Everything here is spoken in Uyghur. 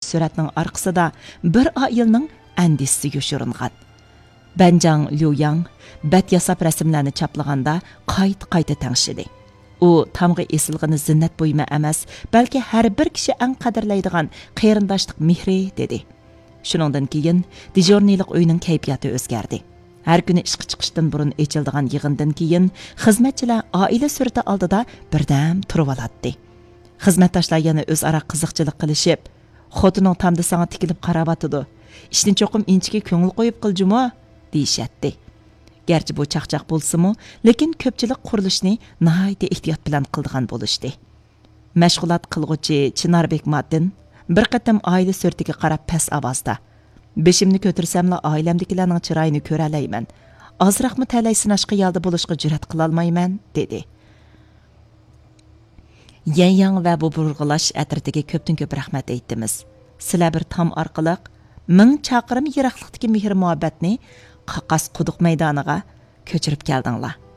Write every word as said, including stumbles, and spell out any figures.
سۈرەتنىڭ ئارقىسىدا بىر ئائىلىنىڭ ئەندىشىسى يوشۇرۇنغان. بەنجاڭ ليۇياڭ بەت ياساپ رەسىملەرنى چاپلىغاندا قايتا-قايتا تەڭشىدى. ئۇ تامغا ئېسىلغىنى زىننەت بۇيۇمى ئەمەس، بەلكى ھەر بىر كىشى ئەڭ قەدىرلەيدىغان قېرىنداشلىق مېھرى، دېدى. شۇنىڭدىن كېيىن دېژۇرنىيلىق ئۆينىڭ كەيپىياتى ئۆزگەردى. ھەر كۈنى ئىشقا چىقىشتىن بۇرۇن ئېچىلىدىغان يىغىندىن كېيىن خىزمەتچىلەر ئائىلە سۈرىتى ئالدىدا بىردەم تۇرۇۋالاتتى. خىزمەتداشلار يەنە ئۆزئارا قىزىقچىلىق قىلىشىپ، «خوتۇنۇڭ تامدا ساڭا تىكىلىپ قاراۋاتىدۇ. ئىشنى چوقۇم ئىنچىكە كۆڭۈل قويۇپ قىلجۇمۇ؟» دېيىشەتتى. گەرچە بۇ چاقچاق بولسىمۇ، لېكىن كۆپچىلىك قۇرۇلۇشنى ناھايىتى ئېھتىيات بىلەن قىلىدىغان بولۇشتى. مەشغۇلات قىلغۇچى چىناربېك ماتىن بىر قېتىم ئائىلە سۈرىتىگە قاراپ پەس ئاۋازدا، «بېشىمنى كۆتۈرسەملا ئائىلەمدىكىلەرنىڭ چىرايىنى كۆرەلەيمەن. ئازراقمۇ تەلەي سىناش خىيالىدا بولۇشقا جۈرئەت قىلالمايمەن» دېدى. يەنياڭ ۋە بۇ بۇرغىلاش ئەترىتىگە كۆپتىن كۆپ رەھمەت ئېيتىمىز. سىلەر بىر تام ئارقىلىق مىڭ چاقىرىم يىراقلىقتىكى مېھىر مۇھەببەتنى قاقاس قۇدۇق مەيدانىغا كۆچۈرۈپ كەلدىڭلار.